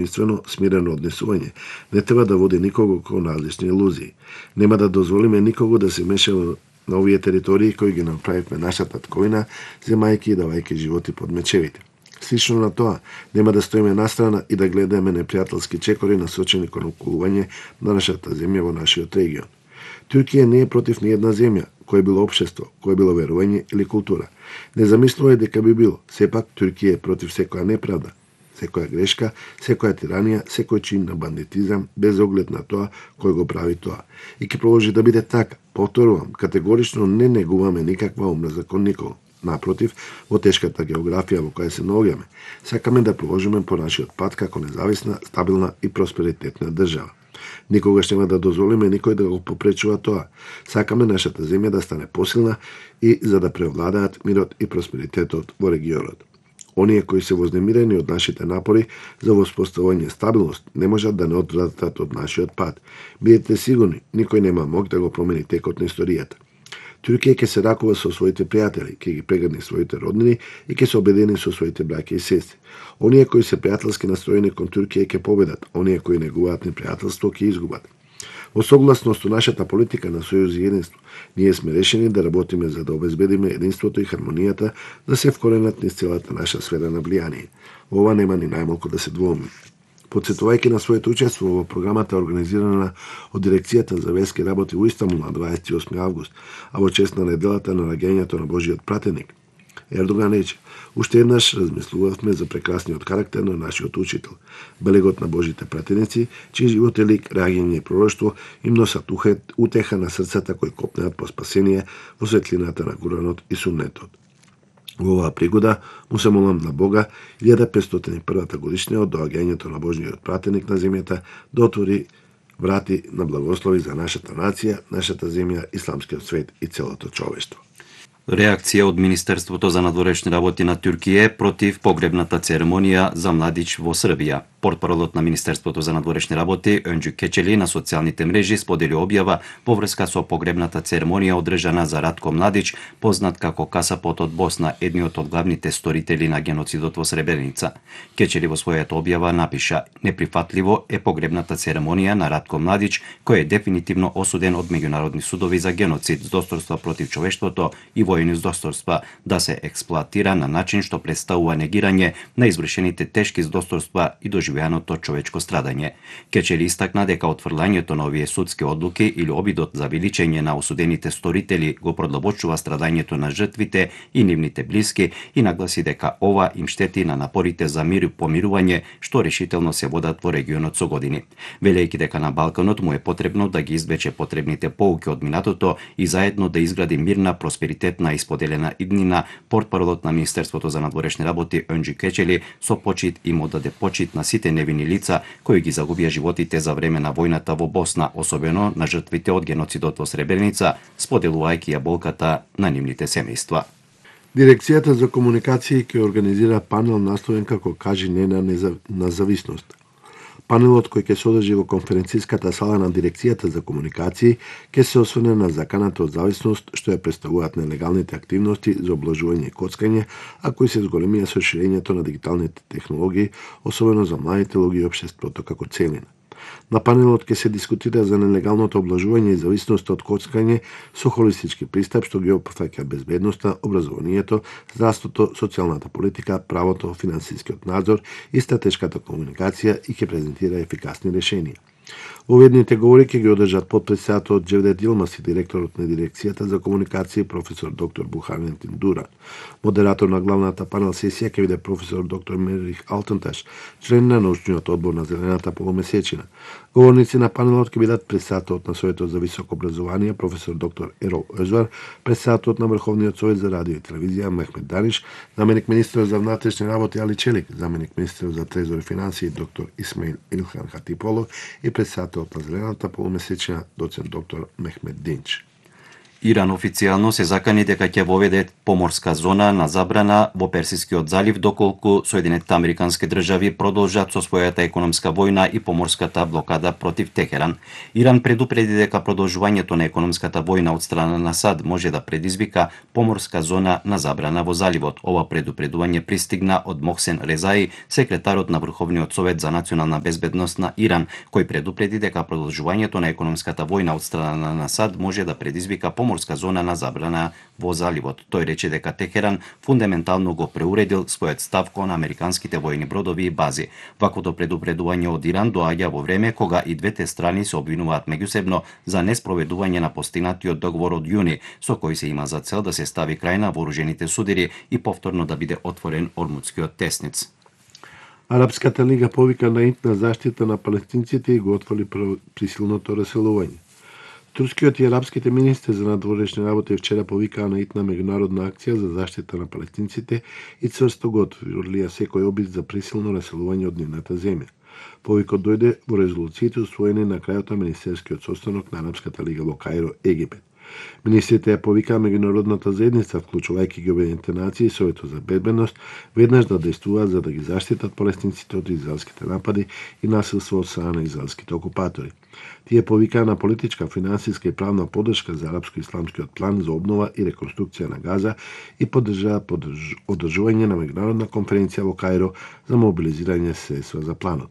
единствено смирено однесување не треба да води никого кон различни илузии. Нема да дозволиме никого да се меша на овие територии кои ги направивме нашата татковина, земајќи и давајќи животи под мечевите. Слично на тоа, нема да стоиме настрана и да гледаме непријателски чекори насочени кон околување на нашата земја во нашиот регион. Туркија не е против ни една земја, кое било општество, кое било верување или култура. Не замислувај дека би било. Сепак, Туркија е против секоја неправда, секоја грешка, секоја тиранија, секој чин на бандитизам, без оглед на тоа кој го прави тоа. И ќе продолжи да биде така. Повторувам, категорично не негуваме никаква омраза кон никого. Напротив, во тешката географија во која се наоѓаме, сакаме да продолжиме по нашиот пат како независна, стабилна и просперитетна држава. Никогаш нема да дозволиме никој да го попречува тоа. Сакаме нашата земја да стане посилна и за да преовладаат мирот и просперитетот во регионот. Оние кои се вознемирени од нашите напори за воспоставување стабилност не можат да не одвратат од нашиот пат. Бидете сигурни, никој нема мог да го промени текот на историјата. Туркија ќе се ракува со своите пријатели, ќе ги прегрне своите роднини и ќе се обедини со своите браќа и сестри. Оние кои се пријателски настроени кон Туркија ќе победат, оние кои негуваат непријателство ќе изгубат. Во согласност со нашата политика на сојуз и единство, ние сме решени да работиме за да обезбедиме единството и хармонијата да се вкоренат низ целата наша сфера на влијание. Ова нема ни најмалку да се двоуми. Подсетувајќи на своето учество во програмата организирана од Дирекцијата за верски работи во Истанбул на 28 август, а во чест на неделата на раѓањето на Божиот пратеник, Ердоган рече: "Уште еднаш размислувавме за прекрасниот карактер на нашиот учител, белегот на Божите пратеници, чиј живот е лик, раѓање и пророштво им носат утеха на срцата кои копнеат по спасение во светлината на Куранот и Суннетот." Во оваа пригода му се молам на Бога 1501 годишнина од доаѓањето на Божиот пратеник на земјата да отвори врати на благослови за нашата нација, нашата земја, исламскиот свет и целото човештво. Реакција од Министерството за надворешни работи на Туркија против погребната церемонија за Младич во Србија. Портпаролот на Министерството за надворешни работи Өнџи Кечели на социјалните мрежи сподели објава во врска со погребната церемонија одржана за Ратко Младич, познат како касапот од Босна, едниот од главните сторители на геноцидот во Сребреница. Кечели во својата објава напиша: "Неприфатливо е погребната церемонија на Ратко Младич, кој е дефинитивно осуден од меѓународни судови за геноцид, злосторства против човештвото и војни злосторства, да се експлоатира на начин што представува негирање на извршените тешки злосторства и доживеаното човечко страдање." Кечели истакна дека отфрлањето на овие судски одлуки или обидот за величење на осудените сторители го продлабочува страдањето на жртвите и нивните блиски и нагласи дека ова им штети на напорите за мир и помирување што решително се водат во регионот со години. Велејќи дека на Балканот му е потребно да ги извлече потребните поуки од минатото и заедно да изгради мирна, просперитетна и споделена иднина, портпаролот на Министерството за надворешни работи Өнџи Кечели со почит им одаде почит на сите невини лица кои ги загубија животите за време на војната во Босна, особено на жртвите од геноцидот во Сребреница, споделувајќи ја болката на нивните семејства. Дирекцијата за комуникации ќе организира панел насловен како "Кажи не на независност". Панелот кој ќе се одржи во конференциската сала на Дирекцијата за комуникации ќе се осврне на заканата од зависност што ја представуваат нелегалните активности за облажување и коцкање, а кои се зголемија со ширењето на дигиталните технологии, особено за младите луѓе и општеството како целина. На панелот ќе се дискутира за нелегалното облажување и зависност од коцкање со холистички пристап што ги опфаќа безбедноста, образованието, здравството, социјалната политика, правото, финансискиот надзор и стратешката комуникација и ќе презентира ефикасни решенија. Уведните говори ќе ги одржат потпредседателот Џевдет Јилмаз и директорот на Дирекцијата за комуникации професор доктор Бухарентин Дуран. Модератор на главната панел сесија ќе биде професор доктор Мерих Алтенташ, член на научниот одбор на Зелената полумесечина. Говорници на панелот ќе бидат председателот на Советот за високо образование професор доктор Ерол Озвар, председателот на Врховниот совет за радио и телевизија Мехмет Даниш, заменик министерот за внатрешни работи Али Челик, заменик министерот за трезор и финансии доктор Исмаил Илхан Хатиполов и председателот на Зелената полумесечина доцент доктор Мехмет Динч. Иран официјално се закани дека ќе воведе поморска зона на забрана во Персискиот залив доколку Соединетите Американски држави продолжат со својата економска војна и поморската блокада против Техеран. Иран предупреди дека продолжувањето на економската војна од страна на САД може да предизвика поморска зона на забрана во заливот. Ова предупредување пристигна од Мохсен Резаи, секретарот на Врховниот совет за национална безбедност на Иран, кој предупреди дека продолжувањето на економската војна од страна на САД може да предизвика поморска зона на забрана во заливот. Тој рече дека Техеран фундаментално го преуредил својот став кон американските војни бродови и бази. Ваквото предупредување од Иран доаѓа во време кога и двете страни се обвинуваат меѓусебно за неспроведување на постигнатиот договор од јуни, со кој се има за цел да се стави крај на вооружените судири и повторно да биде отворен Ормудскиот тесниц. Арапската лига повика на итна заштита на палестинците и го отвори присилното раселување. Турскиот и арапските министри за надворешни работи вчера повикаа на итна меѓународна акција за заштита на палестинците и цврсто го отврлија секој обид за присилно раселување од нивната земја. Повикот дојде во резолуциите усвоени на крајот на министерскиот состанок на Арапската лига во Каиро, Египет. Министрите ја повикаа меѓународната заедница, вклучувајќи ги Обединетите нации и Советот за безбедност, веднаш да действуваат за да ги заштитат палестинците од израелските напади и насилство од страна на израелските окупатори. Тие повикаа на политичка, финансиска и правна поддршка за арапско-исламскиот план за обнова и реконструкција на Газа и поддржаа одржување на меѓународна конференција во Каиро за мобилизирање средства за планот.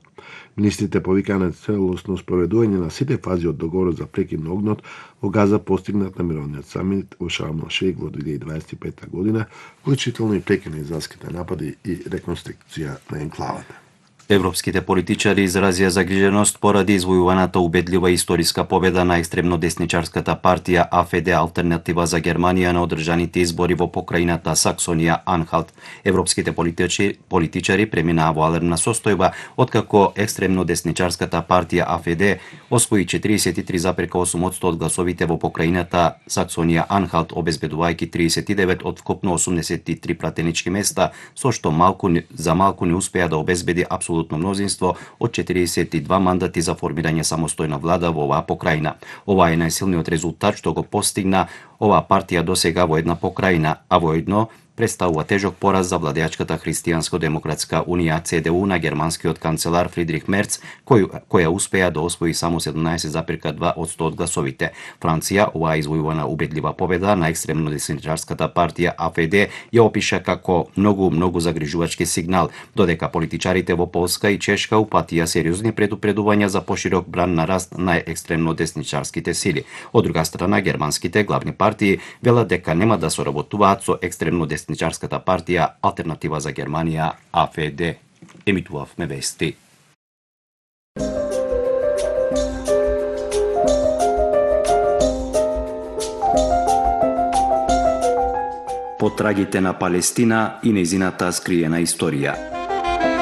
Министрите повикаа на целосно спроведување на сите фази од договорот за прекин на огнот во Газа постигнат на мировниот самит во Шарм ел Шејх во 2025 година, вклучително и прекин на израелските напади и реконструкција на енклавата. Европските политичари изразија загриженост поради извојуваната убедлива историска победа на екстремно десничарската партија АФД Алтернатива за Германија на одржаните избори во покрајната Саксонија-Анхалт. Европските политичари преминаа во алермна состојба откако екстремно десничарската партија АФД освои 43,8% од гласовите во покрајната Саксонија-Анхалт, обезбедувајќи 39 од вкупно 83 пратенички места, со што за малку не успеа да обезбеди апсолутно мнозинство од 42 мандати за формирање самостојна влада во оваа покрајна. Ова е најсилниот резултат што го постигна оваа партија досега во една покрајна, а воедно представува тежок пораз за владеачката Христијанско-демократска унија ЦДУ на германскиот канцелар Фридрих Мерц, која успеа да освои само 17,2% од гласовите. Франција оваа извојувана убедлива победа на екстремно десничарската партија АФД ја опиша како многу загрижувачки сигнал, додека политичарите во Полска и Чешка упатија сериозни предупредувања за поширок бран на раст на екстремно десничарските сили. Од друга страна, германските главни партии велат дека нема да соработуваат со екстремно десничарската партија Алтернатива за Германија АФД. Емитувавме вести. Потрагите на Палестина и нејзината скриена историја.